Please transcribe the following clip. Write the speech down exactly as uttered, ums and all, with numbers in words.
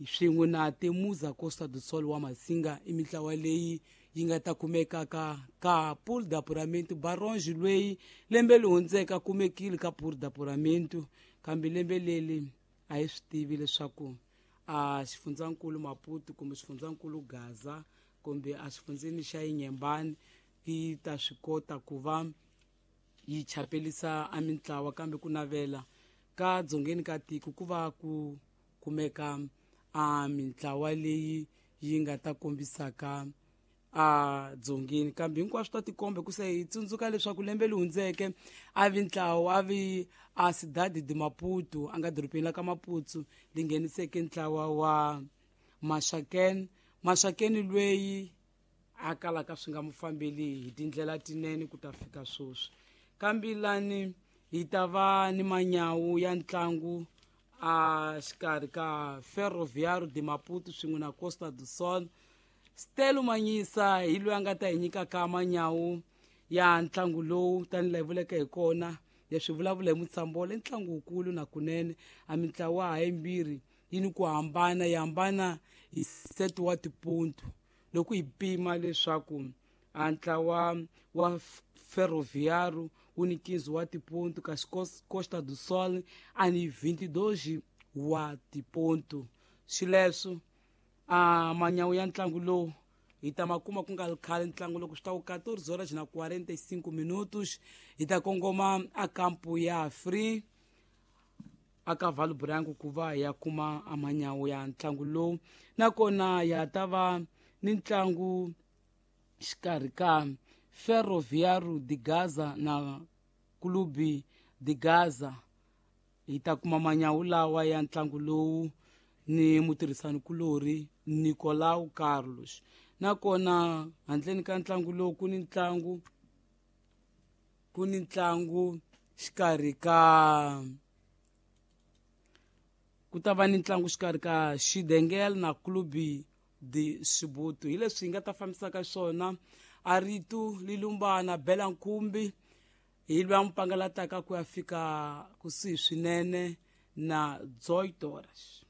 swin'we na Temuza Costa do Sol wa Masinga i mintlawa leyi yi nga ta kumekaka ka Pool d'Apuramento. Baronge lweyi lembe leri hundzeke a kumekile ka Pool d'Apuramento, kambe lembe leri a hi swi tivi leswaku a xifundzankulu Maputo kumbe xifundzankulu Gaza kumbe a xifundzeni xa Inhambane yi ta swi kota ku va yi chapelisa a mintlawa, kambe ku navela ka dzongeni ka tiko ku va ku kumeka a mintlawa leyi yi nga ta kombisaka a dzongeni. Kambe hinkwaswo ta tikomba ku se hi tsundzuka leswaku lembe leri hundzeke a vi ntlawa a vi a Cidade de Maputo a nga dorobeni la ka Maputo li ngheniseke ntlawa wa Maxakeni. Maxakeni lweyi a kalaka swi nga mu fambeli hi tindlela tinene ku ta fika sweswi. Kambe lani hi ta va ni manyawu ya ntlangu a xikarhi ka Ferroviário de Maputo swin'we na Costa do Sol. Stelo Manyisa hi loyi a nga ta hi nyikaka manyawu ya ntlangu lowu tanihi laha hi vuleke hi kona, leswi vulavula hi Mutshambolo i ntlangu wukulu na kunene. A mintlawa ha yimbirhi yi ni ku hambana, yi hambana hi set wa tipontu loko hi pima leswaku a ntlawa wa Ferroviário wu ni quinze wa tipontu kasi Costa do Sol a ni vinte e dois wa tipontu. Xileswo a manyawu ya ntlangu lowu hi ta ma kuma ku nga ri khale. Ntlangu loko swi ta ku quatorze horas na quarenta e cinco minutos hi ta kongoma a kampu ya Free a ka Vale Branco ku va hi ya kuma a manyawu ya ntlangu lowu. Nakona ya ta va ni ntlangu xikarhi ka Ferroviário de Gaza na Clube de Gaza. Hi ta kuma manyawu lawa ya ntlangu lowu ni mutirhisani kulorhi Nicolau Carlos. Nakona handleni ka ntlangu lowu ku ni ntlangu ku ni ntlangu xikarhi ka ku ta va ni ntlangu xikarhi ka Xidengel na Clube de Sibutu. Hi leswi hi nga ta fambisaka swona a rito lilumbana bela nkhumbi hi lwa mupangalataka ku ya fika kusuhi swinene na dezoito horas.